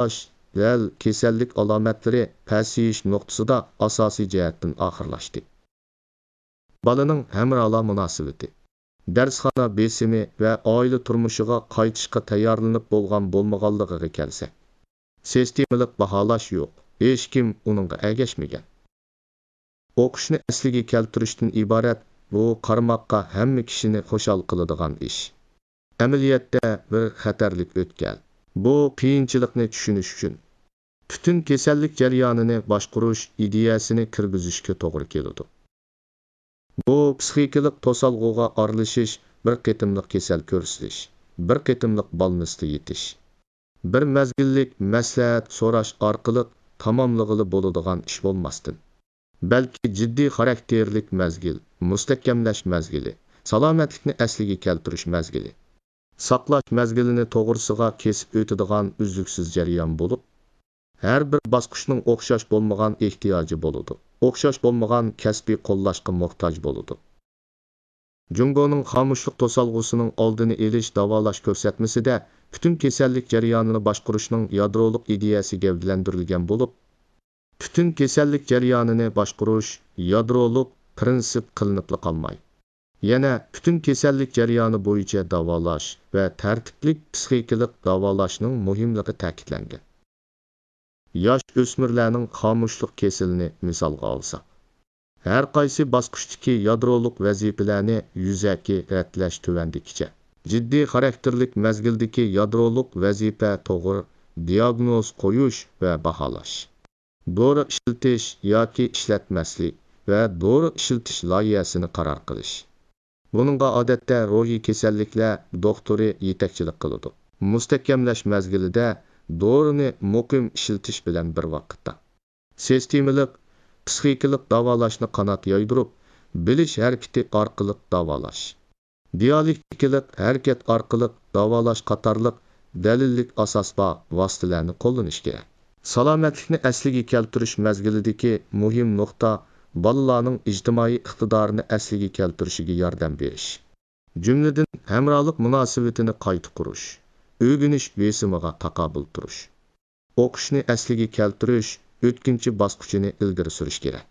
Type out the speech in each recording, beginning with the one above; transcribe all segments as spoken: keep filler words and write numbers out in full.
داۋالاش دەل كېسەللىك ئالامەتلىرى پەسىيىش نۇقتىسىدا ئاساسىي جەھەتتىن ئاخىرلاشتى. بالىنىڭ ھەمراھلار مۇناسىۋىتى، دەرسخانا بېسىمى ۋە ئائىلە تۇرمۇشىغا قايتىشقا تەييارلىنىپ بولغان بولمىغانلىقىغا كەلسەك، سىستېمىلىق باھالاش يوق، ھېچكىم ئۇنىڭغا ئەگەشمىگەن. ئوقۇشنى ئەسلىگە كەلتۈرۈشتىن ئىبارەت بۇ قارىماققا ھەممە كىشىنى خۇشال قىلىدىغان ئىش. ئەمەلىيەتتە بىر خەتەرلىك ئۆتكەل. بۇ قىيىنچىلىقنى چۈشىنىش ئۈچۈن پۈتۈن كېسەللىك جەريانىنى باشقۇرۇش ئىدىيەسىنى كىرگۈزۈشكە توغرا كېلىدۇ. بۇ پسىخىكىلىق توسالغۇغا ئارىلىشىش، بىر قېتىملىق كېسەل كۆرسىتىش، بىر قېتىملىق بالنىستا يېتىش، بىر مەزگىللىك مەسلىھەت سوراش ئارقىلىق تاماملىغىلى بولىدىغان ئىش بولماستىن، بەلكى جىددىي خاراكتېرلىك مەزگىل، مۇستەھكەملەش مەزگىلى، سالامەتلىكنى ئەسلىگە كەلتۈرۈش مەزگىلى، ساقلاش مەزگىلىنى توغرىسىغا كېسىپ ئۆتىدىغان ئۈزلۈكسىز جەريان بولۇپ، ھەر بىر باسقۇچنىڭ ئوخشاش بولمىغان ئېھتىياجى بولىدۇ، ئوخشاش بولمىغان كەسپىي قوللاشقا موھتاج بولىدۇ. جۇڭگونىڭ خامۇشلۇق توسالغۇسىنىڭ ئالدىنى ئېلىش داۋالاش كۆرسەتمىسىدە پۈتۈن كېسەللىك جەريانىنى باشقۇرۇشنىڭ يادرولۇق ئىدىيەسى گەۋدىلەندۈرۈلگەن بولۇپ، پۈتۈن كېسەللىك جەريانىنى باشقۇرۇش يادرولۇق پىرىنسىپ قىلىنىپلا قالماي، يەنە پۈتۈن كېسەللىك جەريانى بويىچە داۋالاش ۋە تەرتىپلىك پسىخىكىلىق داۋالاشنىڭ مۇھىملىقى تەكىتلەنگەن. ياش ئۆسمۈرلەرنىڭ خامۇشلۇق كېسىلىنى مىسالغا ئالساق، ھەر قايسى باسقۇچتىكى يادرولۇق ۋەزىپىلەرنى يۈزەكى رەتلەش تۆۋەندىكىچە. جىددىي خاراكتېرلىك مەزگىلدىكى يادرولۇق ۋەزىپە توغرا دىياگنوز قويۇش ۋە باھالاش، دورا ئىشلىتىش ياكى ئىشلەتمەسلىك ۋە دورا ئىشلىتىش لايىھەسىنى قارار قىلىش. بۇنىڭغا ئادەتتە روھىي كېسەللىكلەر دوختۇرى يېتەكچىلىك قىلىدۇ. مۇستەھكەملەش مەزگىلىدە دورىنى مۇقىم ئىشلىتىش بىلەن بىر ۋاقىتتا، سىستېمىلىق پسىخىكىلىق داۋالاشنى قانات يايدۇرۇپ، بىلىش ھەرىكىتى ئارقىلىق داۋالاش، دىيالېكتىكىلىق ھەرىكەت ئارقىلىق داۋالاش قاتارلىق دەلىللىك ئاساس بار ۋاسىتىلەرنى قوللىنىش كېرەك. سالامەتلىكنى ئەسلىگە كەلتۈرۈش مەزگىلىدىكى مۇھىم نۇقتا، بالىلارنىڭ ئىجتىمائىي ئىقتىدارىنى ئەسلىگە كەلتۈرۈشىگە ياردەم بېرىش، جۈملىدىن، ھەمراھلىق مۇناسىۋىتىنى قايتا قۇرۇش، ئۆگىنىش بېسىمىغا تاقابىل تۇرۇش، ئوقۇشنى ئەسلىگە كەلتۈرۈش ئۆتكۈنچى باسقۇچىنى ئىلگىرى سۈرۈش كېرەك.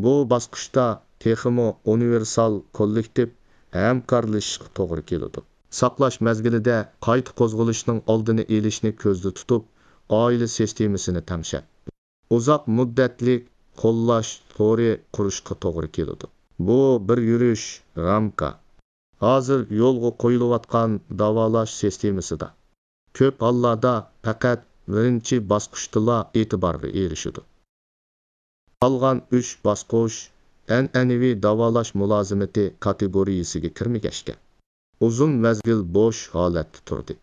بۇ باسقۇچتا تېخىمۇ ئۇنىۋېرسال كوللېكتىپ ھەمكارلىشىشقا توغرا كېلىدۇ. ساقلاش مەزگىلىدە قايتا قوزغىلىشنىڭ ئالدىنى ئېلىشنى كۆزدە تۇتۇپ، ئائىلە سىستېمىسىنى تەڭشەپ، ئۇزاق مۇددەتلىك قوللاش تورى قۇرۇشقا توغرا كېلىدۇ. بۇ بىر يۈرۈش، رامكا. ھازىر يولغا قويۇلۇۋاتقان داۋالاش سىستېمىسىدا كۆپ ھاللاردا پەقەت بىرىنچى باسقۇچتىلا ئېتىبارغا ئېرىشىدۇ. قالغان ئۈچ باسقۇچ ئەنئەنىۋى داۋالاش مۇلازىمىتى كاتېگورىيەسىگە كىرمىگەچكە، ئۇزۇن مەزگىل بوش ھالەتتە تۇردى.